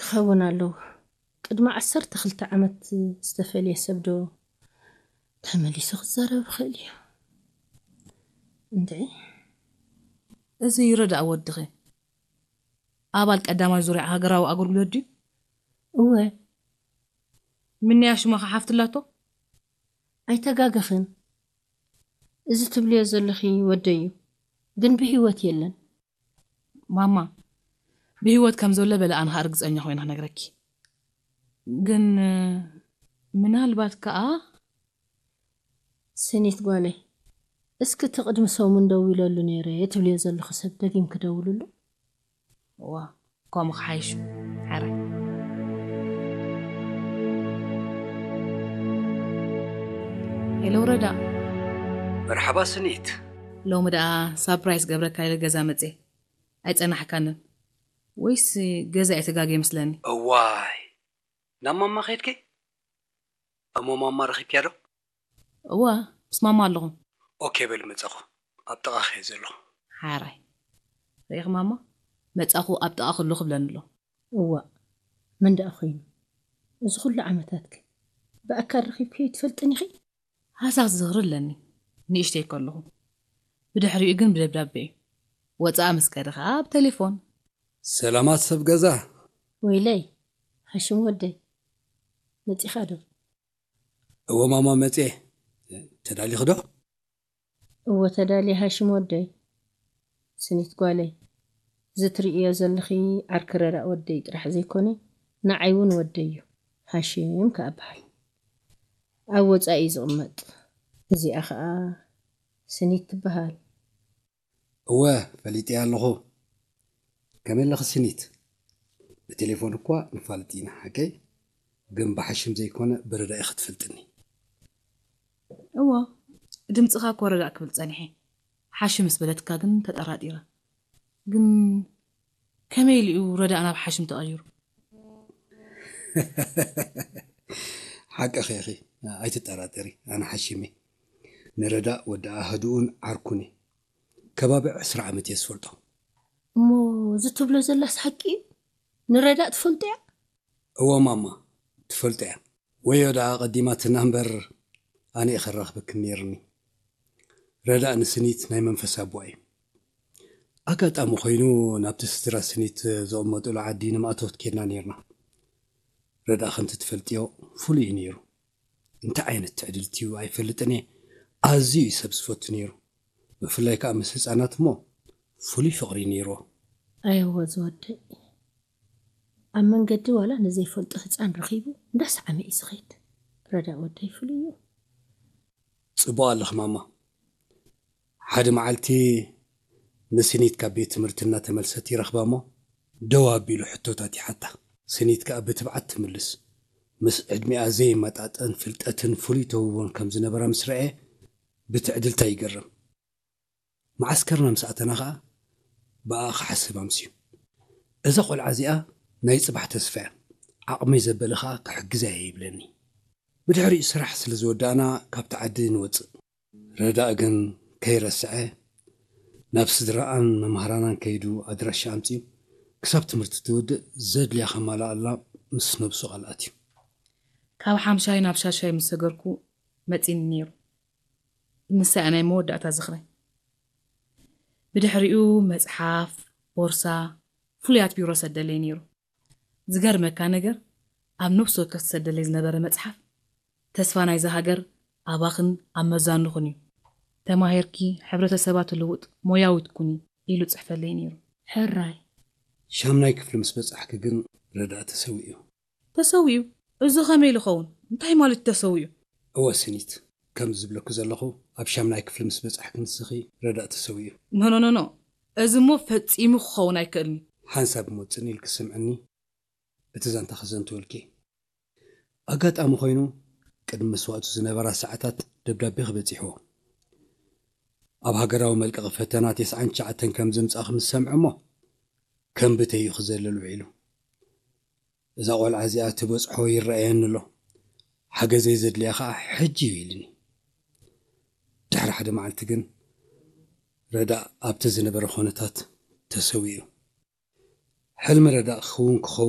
ክኸውን ኣለዎ። ቅድሚ ዓሰርተ ክልተ ዓመት ዝተፈልየ ሰብ ዶ ተመሊሱ ክዛረብ ይኽእል እዩ? እንድዒ። እዚ ይረዳእ ወድኺ ኣባል ቀዳማይ ዙርያ ሃገራዊ ኣገልግሎት ድዩ? እወ። ምንያ ሽማ ሓፍትላቶ? ኣይተጋገኽን። እዚ ትብልዮ ዘለኺ ወደይ እዩ፣ ግን ብህይወት የለን። ማማ፣ ብህይወት ከም ዘሎ በለ ኣነ ኸኣ ርግጸኛ ኮይነ ክነግረኪ። ግን ምናልባት ከኣ ስኒት ጓለይ፣ እስኪ እቲ ቅድሚ ሰሙን ደዊለሉ ነይረ ትብልዮ ዘለኹ ሰብ ደጊም ክደውልሉ። እዋ፣ ከምኡ ክሓይሽ። ሓራይ። ሄሎ ረዳ። መርሓባ ስኒት። ሎሚ ደኣ ሳፕራይዝ ገብረካ ኢለ ገዛ መጽየ። ኣይጸናሕካንን ወይስ ገዛ እየ ተጋገ ይመስለኒ? እዋይ፣ ናብ ማማ ከይድኪ? እሞ ማማ ረኺብኪያ ዶ? እዋ፣ ምስ ማማ ኣለኹ። ኦኬ በል፣ መጻኹ። ኣብ ጥቓኺ እየ ዘለኹ። ሓራይ። ርኢኺ ማማ፣ መጻኹ ኣብ ጥቓኺ ኣለኹ ብለኒ ኣሎ። እዋ፣ መን ደኣ ኮይኑ? እዚ ኩሉ ዓመታትከ ብኣካል ረኺብክዮ ትፈልጥን ኢኺ? ሃሳስ ዝኽሪ ኣለኒ፣ ንእሽተይ ከለኹ። ብድሕሪኡ ግን ብደብዳቤ እዩ። ወጻኢ ምስ ከደ ኸኣ ብቴሌፎን። ሰላማት ሰብ ገዛ። ወይለይ፣ ሃሽም ወደይ፣ መጺኻ ዶ? እወ ማማ መጽየ። ተዳሊኺ ዶ? እወ ተዳልየ ሃሽም ወደይ። ስኒት ጓለይ፣ እዚ ትርእዮ ዘለኺ ዓርኪ ረዳእ ወደይ ጥራሕ ዘይኮነ፣ ንዓይ እውን ወደይ እዩ። ሃሽም ከኣ በሃል። ኣብ ወጻኢ እዩ ዝቕመጥ። እዚኣ ኸኣ ስኒት ትበሃል። እወ፣ ፈሊጠያ ኣለኹ። ከመይ ኣለኺ ስኒት? ብቴሌፎን እኳ ንፋለጥ ኢና፣ ሓቀይ? ግን ብሓሽም ዘይኮነ ብረዳእ ኢኺ ትፈልጥኒ። እወ፣ ድምጽኻ እኮ ረዳእ ክብል ጸኒሐ። ሓሽም ምስ በለትካ ግን ተጠራጢረ። ግን ከመይ ኢሉ እዩ ረዳእ ናብ ሓሽም ተቐይሩ? ሓቅኺ ኢኺ፣ ኣይትጠራጠሪ፣ ኣነ ሓሽም እየ። ንረዳእ ወዲ ኣህድኡን ዓርኩን እየ። ከባቢ ዕስራ ዓመት እየ ዝፈልጦ። እሞ እዚ ትብሎ ዘላስ ሓቂ እዩ? ንረዳእ ትፈልጦ እያ? እወ ማማ፣ ትፈልጦ እያ። ወዮ ደኣ ቀዲማትና እምበር ኣነ እየ ከራኽበክን ነይርኒ። ረዳእ ንስኒት ናይ መንፈስ ኣቦኣ እዩ። ኣጋጣሚ ኮይኑ ናብቲ ስድራ ስኒት ዝቕመጡሉ ዓዲ ንማእቶት ኬድና ነይርና። ረዳእ ከምቲ ትፈልጥዮ ፍሉይ እዩ ነይሩ። እንታይ ዓይነት ትዕድልቲ እዩ ኣይፈልጥን እየ። ኣዝዩ እዩ ሰብ ዝፈቱ ነይሩ። ብፍላይ ከኣ ምስ ህጻናት እሞ ፍሉይ ፍቕሪ እዩ ነይርዎ። ኣየወ ዝወደይ፣ ኣብ መንገዲ ዋላ ንዘይፈልጦ ህጻን ረኺቡ እንዳሰዓመ እዩ ዝኸይድ። ረዳእ ወደይ ፍሉይ እዩ። ጽቡቕ ኣለኺ ማማ። ሓደ መዓልቲ ንስኒት ካብ ቤት ትምህርቲ እናተመልሰት ይረኽባ እሞ ደው ኣቢሉ ሕቶታት ይሓታ። ስኒት ከኣ ብትብዓት ትምልስ። ምስ ዕድሚኣ ዘይመጣጠን ፍልጠትን ፍሉይ ተውህቦን ከም ዝነበራ ምስ ረኣየ ብትዕድልታ ይገረም። መዓስከርና ምስ ኣተና ኸኣ ብኣ ክሓስብ ኣምስዩ። እዛ ቖልዓ እዚኣ ናይ ጽባሕ ተስፋ እያ። ዓቕመይ ዘበለ ኸኣ ክሕግዛ እየ ይብለኒ። ብድሕሪኡ ስራሕ ስለ ዝወዳእና ካብቲ ዓዲ ንወጽእ። ረዳእ ግን ከይረስዐ ናብ ስድራኣን መምሃራናን ከይዱ ኣድራሻ ኣምጺኡ ክሳብ ትምህርቲ ትውድእ ዘድልያ ከማልኣላ ምስ ነብሱ ቃል ኣትዩ። ካብ ሓምሻይ ናብ ሻሻይ ምስ ሰገርኩ መጺኒ ነይሩ። ንሳ እያ ናይ መወዳእታ ዝኽረይ። ብድሕሪኡ መጽሓፍ፣ ቦርሳ፣ ፍሉያት ቢሮ ሰደለይ ነይሩ። ዝገርመካ ነገር፣ ኣብ ነፍሲ ወከፍ ዝሰደለይ ዝነበረ መጽሓፍ፣ ተስፋ ናይዛ ሃገር ኣባኽን ኣብ መዛኑኽን እዩ። ተማሂርኪ ሕብረተሰባ ትልውጥ ሞያዊት ኩኒ ኢሉ ጽሕፈለይ ነይሩ። ሕራይ። ሻምናይ ክፍሊ ምስ በጻሕኪ ግን ረዳእ ተሰዊኡ። ተሰዊኡ? እዚ ኸመይ ኢሉ ኸውን? እንታይ ማለት እዩ ተሰዊኡ? እወ ስኒት፣ ከም ዝብለኩ ዘለኹ ኣብ ሻምናይ ክፍሊ ምስ በጻሕኪ ንስኺ ረዳእ ተሰዊኡ። ኖ ኖ ኖ ኖ፣ እዚ እሞ ፈጺሙ ክኸውን ኣይክእልኒ። ሓንሳብ እሞ ጽን ኢልኪ ስምዕኒ፣ እቲ ዛንታ ከዘንትወልኪ። ኣጋጣሚ ኮይኑ ቅድሚ መስዋእቱ ዝነበራ ሰዓታት ደብዳቤ ክበጺሕዎ። ኣብ ሃገራዊ መልቀቒ ፈተና ተስዓን ትሽዓተን ከም ዘምጻእኺ ምስ ሰምዐ እሞ ከም ብተይ እዩ ክዘልል ውዒሉ። እዛ ቖልዓ እዚኣ ትበጽሖ ይረኣየኒ ኣሎ፣ ሓገዘይ ዘድልያ ኸኣ ሕጂ እዩ ኢልኒ። ድሕሪ ሓደ መዓልቲ ግን ረዳእ ኣብቲ ዝነበረ ኾነታት ተሰዊኡ። ሕልሚ ረዳእ ክውን ክኸውን